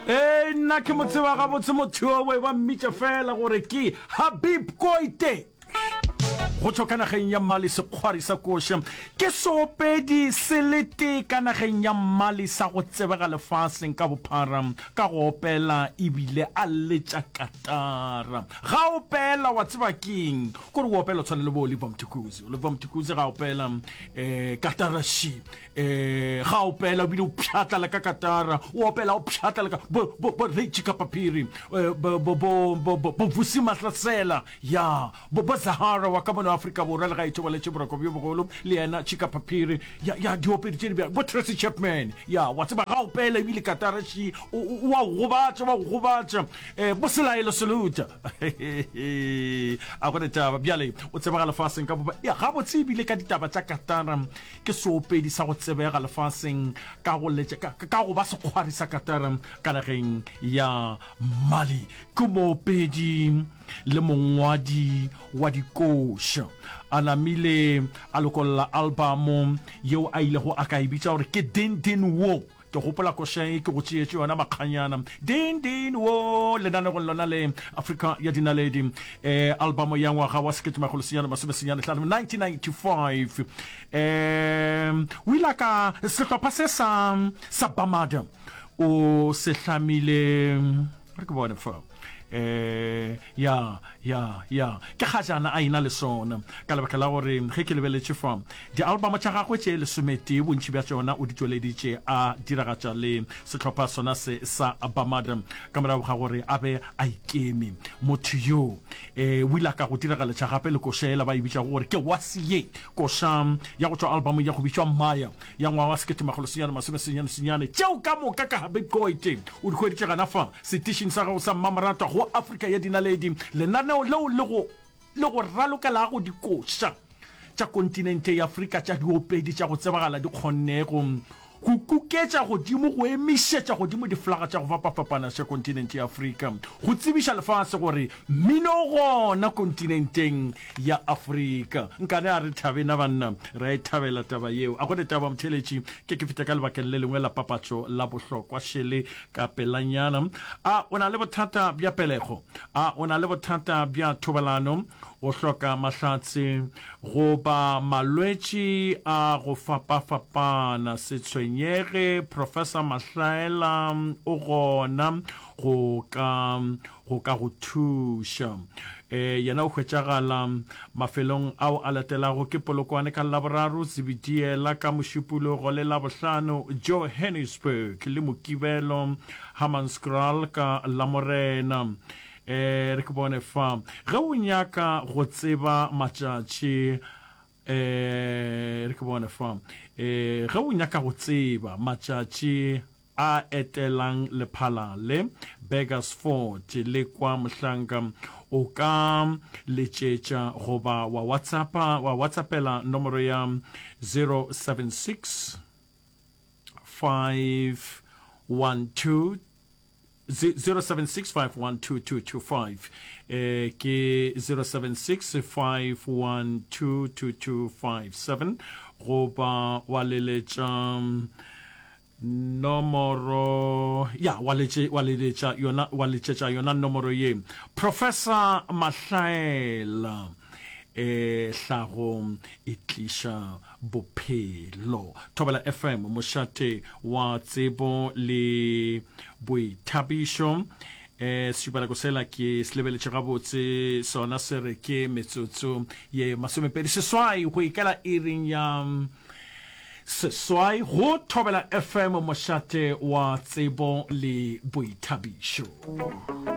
Ee, nna ke mo tseba gabotse motho yowe, ba mmitša fela gore ke Habib Koite. Go tšwa ka nageng ya Mali sekgwari sa koša ke seopedi se le tee ka nageng ya Mali sa go tsebega lefaseng ka bophara ka go opela ebile a letša katara. Ga opela wa tseba keng kore o opela o tshwana le bo Oliver Mtukudzi. Oliver Mtukudzi ga opela um katara she um ga opela o bile o pšhatla le ka katara o opela o pšhatla le ka bo bo bo Ray Chikapaphiri bo bo bo bo Vusi Mahlasela Ya, bo, bo Zahara wa ka mono Afrika Borwa, le ga e thobaletše boroko bjo bogolo, le yena, Chika Paphiri, ya, ya, diopedi tše di bjalo, bo Tracy Chapman, ya, wa tseba, ga opela ebile katara ši, o, o, o a go gobatša, wa go gobatša, eh, bo Selaelo Seluta. A go ne taba. Bjale, o tsebega lefaseng ka bopa, ya, gabotse ebile ka ditaba tša katara, ke seopedi sa go tsebega lefaseng ka go letša, ka, ka go ba sekgwari sa katara ka nageng ya Mali. Ke moopedi le mongwadi wa dikoša. A namile a lokolla albamo yeo a ilego a ka e bitša gore ke Din Din Wo. Ke gopola koša ye ke go tšeetše yona makganyana. Din Din Wo lenanegong lona le Afrika ya Dinaledi. Eh, albamo ya ngwaga wa 1995, 1995. Eh, o ile a ka sehlopha se sa sa Bamada o se hlamile re ke bone fa eh ya ya ya ke gajana a ina le sona ka lebaka la gore ge ke lebeletše fa di-album tša gagwe tše lesometee bontši bja tšona o di tšweleditše a diragatša le sehlopha sona se sa Bamada ka morago ga gore a be a ikeme motho yo um o ile a ka go diragaletša gape le koša yela ba e bitšago gore ke wasiye koša ya go tšwa albumong ya go bitšwa Maya ya ngwaga wa 1999. Tšeo ka moka ka Habib Koite o di hweditše gana fa setišing sa gago sa mmamoratwa go Afrika ya Dinaledi, lenaneo leo le go le go ralokelago dikoša tša kontinente ya Afrika tša diopedi tša go tsebagala di kgonnego go kuketša godimo go emišetša godimo diflaga tša go fapafapana tša kontinente ya Afrika go tsebiša lefase gore mmino o gona kontinenteng ya Afrika. Nkane a re thabe na banna, re a e thabela taba yeo. A go ne taba motheeletši, ke ke feta ka lebakeng le lengwe la papatšo la bohlokwa šele ka pelanyana. A o na le bothata bja pelego? A o na le bothata bja thobalano? O hloka mahlatse goba malwetši a go fapafapana? Se tshwenyege, Professor Mahlaela o gona go ka go ka go thuša. E, yena o hwetšagala mafelong ao a latelago ke Polokwane ka Laboraro, Zebediela ka Mošupologo le Labohlano, Johannesburg le Mokibelo, Hammanskraal ka Lamorena. E, re ke bone fa. Ge o nyaka go tseba matšatši E, re ke bone fa. E, ge o nyaka go tseba matšatši a etelang lephala le, Burgersfort le kwa Mohlanka, o ka letšetša goba wa WhatsAppa, wa WhatsAppela nomoro ya 076 512 076512225 eh, ke 0765122257 goba wa leletša nomoro ya wa letše wa leletša yona wa letšetša yona nomoro ye Professor Mahlaela e hlago e tliša bophelo. Thobela FM, mošate wa tsebo le boithabišo. E, sešupanako sela ke se lebeletše gabotse, sona se re ke metsotso ye masomepedi seswai go ikela iring ya seswai go Thobela FM, mošate wa tsebo le boithabišo.